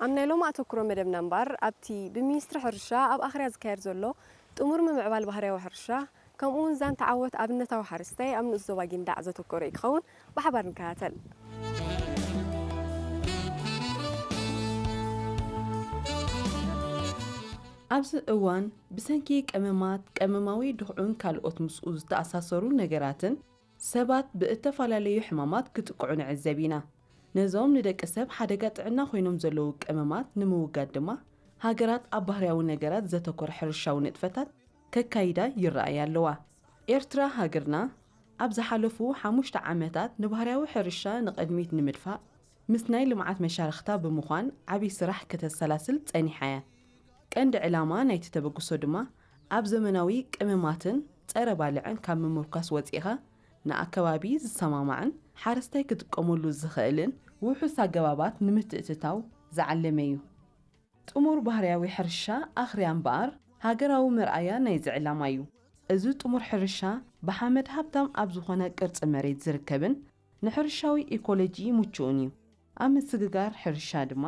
ኣብ ናይ ሎሚ ኣተኩሮ መደብና እምበኣር ኣብቲ ብሚኒስትሪ ሕርሻ ኣብ ኣኽርያ ዝካየድ ዘሎ ጥሙር ምምዕባል ባህርያዊ ሕርሻ ከምኡ እውን ዛንታ ዓወት ኣብነታዊ ሓረስታይ ኣብ ንኡስ ዞባ ጊንዳዕ ዘተኮረ እዩ ክኸውን። ብሓባር ንከታተል። ኣብዚ እዋን ብሰንኪ ቀመማት፣ ቀመማዊ ድኽዑን ካልኦት ምስኡ ዝተኣሳሰሩ ነገራትን ሰባት ብእተፈላለዩ ሕማማት ክጥቅዑ ንዕዘብ ኢና። ነዞም ንደቂ ሰብ ሓደጋ ጥዕና ኮይኖም ዘለዉ ቀመማት ንምውጋድ ድማ ሃገራት ኣብ ባህርያዊ ነገራት ዘተኮረ ሕርሻዊ ንጥፈታት ከካይዳ ይረኣያ ኣለዋ። ኤርትራ ሃገርና ኣብ ዝሓለፉ ሓሙሽተ ዓመታት ንባህርያዊ ሕርሻ ንቕድሚት ንምድፋእ ምስ ናይ ልምዓት መሻርኽታ ብምዃን ዓብዪ ስራሕ ከተሰላስል ጸኒሓ እያ። ቀንዲ ዕላማ ናይቲ ተበግሶ ድማ ኣብ ዘመናዊ ቀመማትን ጸረ ባልዕን ካብ ምምርኳስ ወጺኻ ንኣከባቢ ዝሰማማዕን ሓረስታይ ክጥቀመሉ ዝኽእልን ውሑስ ኣገባባት ንምትእትታው ዝዓለመ እዩ። ጥሙር ባህርያዊ ሕርሻ ኣኽርያ እምበኣር ሃገራዊ መርኣያ ናይዚ ዕላማ እዩ። እዚ ጥሙር ሕርሻ ብሓመድ ሃብታም ኣብ ዝኾነ ቅርጺ መሬት ዝርከብን ንሕርሻዊ ኢኮሎጂ ምቹእን እዩ። ኣብ ምስግጋር ሕርሻ ድማ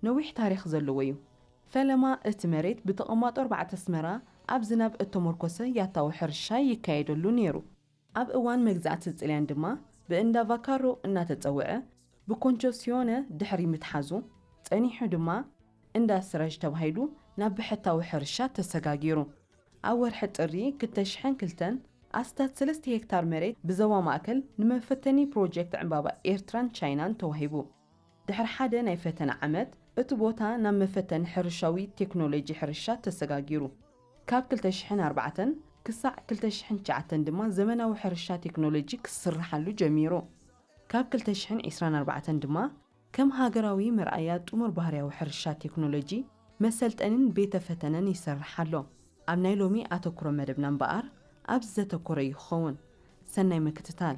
ነዊሕ ታሪኽ ዘለዎ እዩ። ፈለማ እቲ መሬት ብተቐማጦ ኣርባዕተ ኣስመራ ኣብ ዝናብ እተመርኮሰ ያታዊ ሕርሻ ይካየደሉ ነይሩ። ኣብ እዋን መግዛእቲ ጥልያን ድማ ብእንዳ ቫካሮ እናተጸውዐ ብኮንቸሲዮነ ድሕሪ ምትሓዙ ጸኒሑ ድማ እንዳ ስረጅ ተባሂሉ ናብ ብሕታዊ ሕርሻ ተሰጋጊሩ። ኣብ ወርሒ ጥሪ ክልተ ሽሕን ክልተን ኣስታት ሰለስተ ሄክታር መሬት ብዞባ ማእከል ንመፈተኒ ፕሮጀክት ዕምባባ ኤርትራን ቻይናን ተዋሂቡ። ድሕሪ ሓደ ናይ ፈተነ ዓመት እቲ ቦታ ናብ መፈተኒ ሕርሻዊ ቴክኖሎጂ ሕርሻ ተሰጋጊሩ። ካብ ክልተ ሽሕን ኣርባዕተን ክሳዕ ክልተ ሽሕን ትሽዓተን ድማ ዘመናዊ ሕርሻ ቴክኖሎጂ ክስርሓሉ ጀሚሩ። ካብ ክልተ ሽሕን ዕስራን ኣርባዕተን ድማ ከም ሃገራዊ መርኣያ ጥሙር ባህርያዊ ሕርሻ ቴክኖሎጂ መሰልጠንን ቤተ ፈተነን ይሰርሕ ኣሎ። ኣብ ናይ ሎሚ ኣተኩሮ መደብና እምበኣር ኣብዚ ዘተኮረ እዩ ክኸውን። ሰናይ ምክትታል።